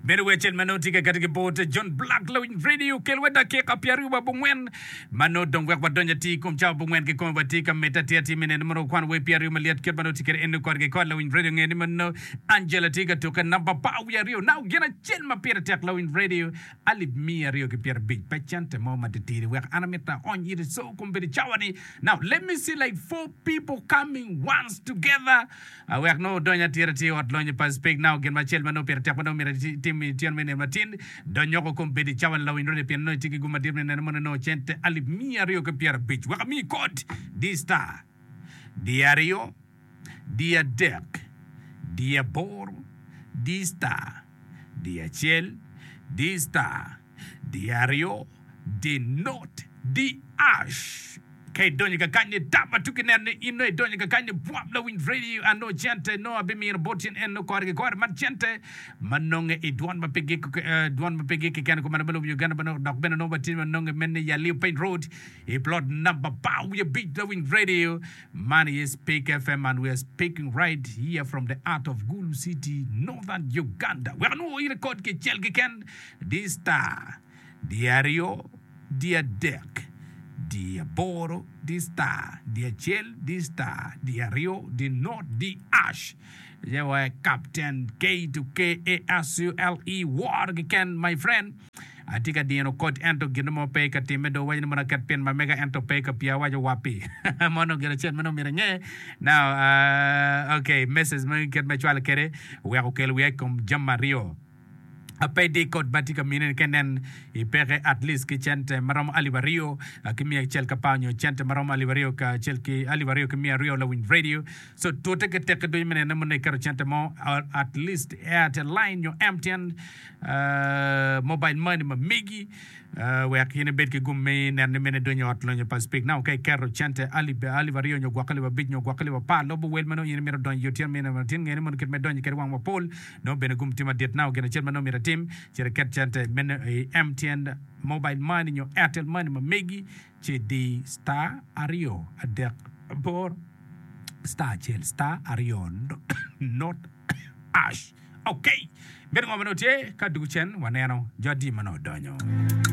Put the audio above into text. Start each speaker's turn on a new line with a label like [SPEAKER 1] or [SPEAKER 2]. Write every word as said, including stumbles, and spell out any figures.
[SPEAKER 1] Meno wer acel ma nongo tye ka kati ki bot John Black Lawiny Radio kelwa dakika pyeraryo wa abongwen ma nongo dong wek wadony atir i kom cawa abongwen kikome watye ka medde atir atir me neno mono wakwan wer pyeraryo malyet kit ma nongo tye kwede eno kore ki kore Lawiny Radio nge ni mono Angela tye ka tukke namba apar wiye aryo now gin acel ma pire tek Lawiny Radio alip miya aryo ki pyerabic pe cente mo matitidi wek an amito aony ite so kombeddi cawa ni now let me see like four people coming once together wek nongo odony atir atir i ot lonyo pa Speke now gin macel ma nongo pire tek ma nongo myero itim i tyeno me nino matin dony oko kombeddi cawa ni lawiny rode pien nongo itye ki gum madit me neno mono nongo cente alip miya aryo ki pyerabic wek amiyi kod di star di aryo di adek di aboro di star di acel di star di aryo di not di ash ka idonyo kakany ni tap ma tuki neno ni in nongo idonyo kakany ni bwap lawiny radio an nongo cente nongo abimino bot in en nongo kore ki kore man cente ma nonge i dwon ma pe gik dwon ma pe gik keken kumalo me lobo Uganda ma nongo dok bene nongo watye ma nonge mene i Aliu Piny Road i plot number apar wiye abic lawiny radio man aye Speak F M and we are speaking right here from the heart of Gulu City, Northern Uganda. Wek anwo in rekod kicel keken di star di aryo di adek di aboro di star di acel di star di aryo di not di ash yewa Captain K to K A S U L E war keken my friend atye ka dino koc ento gin mo pe ka timme do waco ni mono aket pin ma mega ento pe ka pia awaco wapi mono gin acel ma nongo myero inge now uh, okay message ma kit me cwalo kwede wek okel wiya i kom jami aryo pe di kod ma tye ka mine ni ka inen i peke at least ki cente ma romo alip aryo ki miya acel ka par nyo cente ma romo alip aryo kacel ki alip aryo ki miya aryo lawiny radio so tute ki tekki ducu me nene mono iketo cente mo at least Airtel line nyo M T N uh, mobile money ma megi uh, wek in ibed ki gum me neno ni mene idonyo i ot lonyo pa Speke now ka iketo cente alip alip aryo nyo gwok alip abic nyo gwok alip apar lobo wel ma nongo in imito donyo i otyeno mine matin ngene mono kit me donyo kwede wang mapol nongo bene gum tye madit now gin acel ma nongo myero itim cit iket cente mene i M T N mobile money nyo Airtel money ma megi ci di star aryo adek aboro star acel star aryo not ash okay bedo ngo ma nongo tye ka dugu cen waneno jo adi ma nongo odonyo.